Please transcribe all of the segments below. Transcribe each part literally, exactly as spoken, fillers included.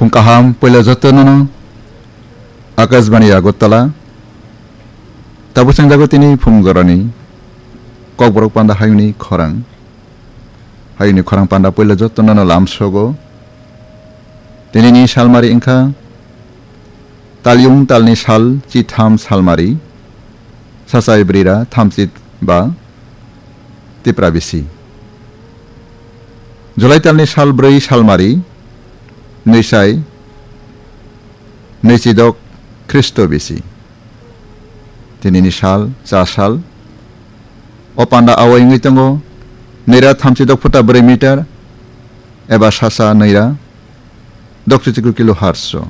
Phung kaham puila jotono no Akashbani Agartala. Tabuk chengjago tini phung gorani Kokborok panda hayungni khorang. Hayungni khorang panda puila jotono no lamsogo. Tinini salmari wngkha talyung talni sal chitham salmari, sachai brira thamchit ba Tipra bisi. July talni sal brwi salmari, nwisai nwichidok Khristo bisi. Tinini sal, cha sal. O panda awai wngwi tongo, nwira thamchidok phuta brwi meter, eba sasa nwira dokchichiku kilo harso.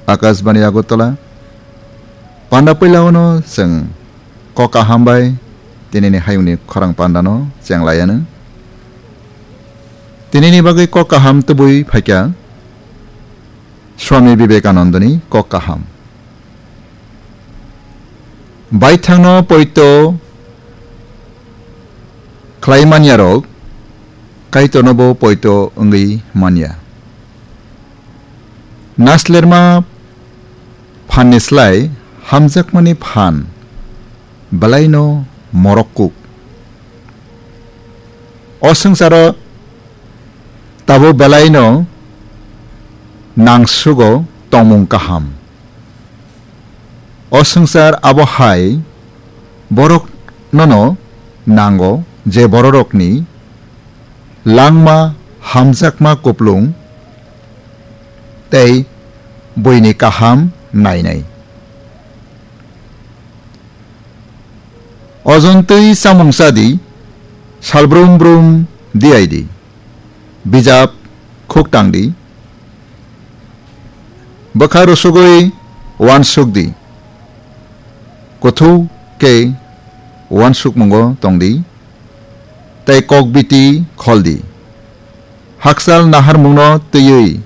Akashbani Agartala, panda puila ono chwng kok kaham bai tinini hayungni khorang pandano chenglaiano. Tinini bagwi kok kaham tubui phaikha Swami Vivekanandani kok kaham. Baithangno poito khlai manyarok Kaitornobo poito wngwi manya. Naslerma phanni slai hamjakmani phan belaino morok kuk. O swngcharo tabuk belaino nangsugo tongmung kaham. O swngchar abo hai borok nono nango je bororokni langma hamjakma kuplung tei buini kaham nainai. Ojontwi chamung chadi, salbrum brum diyaidi, bijap khuktangdi, bwkha rusugwi uansukdi, kuthuk khe uansukmungo tongdi, tei kok biti kholdi, hakchal naharmungno twiwi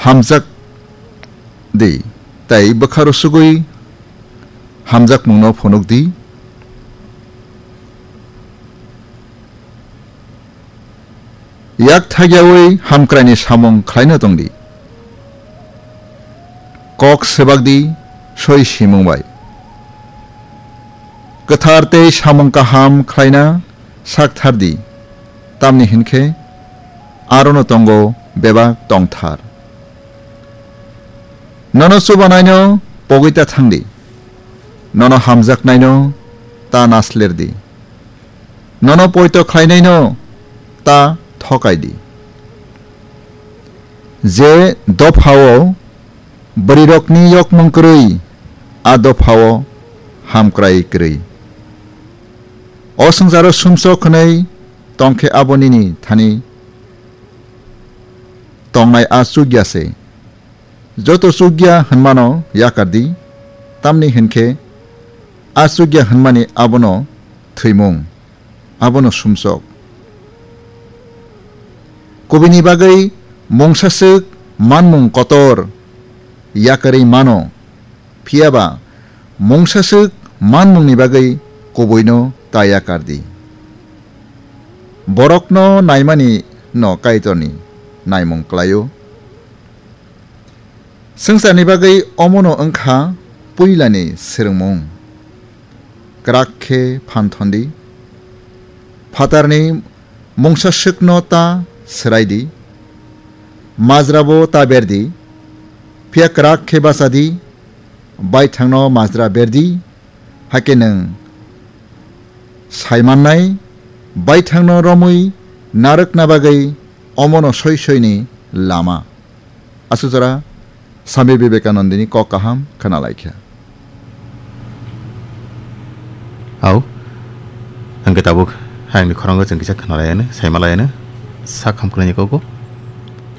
hamjak di, tei bwkha rusugwi hamjakmungno phunuk di. Yak thagyawi hamkraini samung khlaina tongdi. Kok swbak di soi simung bai. Kwthar tei samung kaham khlaina sak thar di, tamni hinkhe arono tongo bebak tongthar. Nono chubanaino pogwi ta thang di, nono hamjaknaino ta nasler di, nono poito khlainaino ta thokai di. Je dophao bwrwirokni yokmung kwrwi, a dophao hamkrai kwrwi. O swngcharo sumsok hwnwi tongkhe abo nini thani tongnai a chukya se. Joto chukya hwnmano yakar di, tamni hinkhe a chukya hwnmani abono thwimung, abono sumsok. Kubini bagwi mungsaswk manmung kotor yakarwi mano, phiyaba mungsaswk manmungni bagwi kubuino ta yakar di. Borokno naimani no Kaitorni naimung klaio. Swngcharni bagwi omono wngkha puilani swrwngmung. Kwrak khe phan thon di. Phatarni mungsaswkno ta swrai di. Majrabo ta ber di. Phiya kwrak khe bacha di. Baithangno majra ber di. Hakhe nwng sai mannai, baithangno romwi narwkna bagwi omono soi soini lama. Aswk jora Swami Vivekanandani kok kaham khna lai kha. Au, hwnkhe tabuk hayungni khorango chwng kisa khna lai anw, sai ma lai anw, sak hamkrai ni kok bo.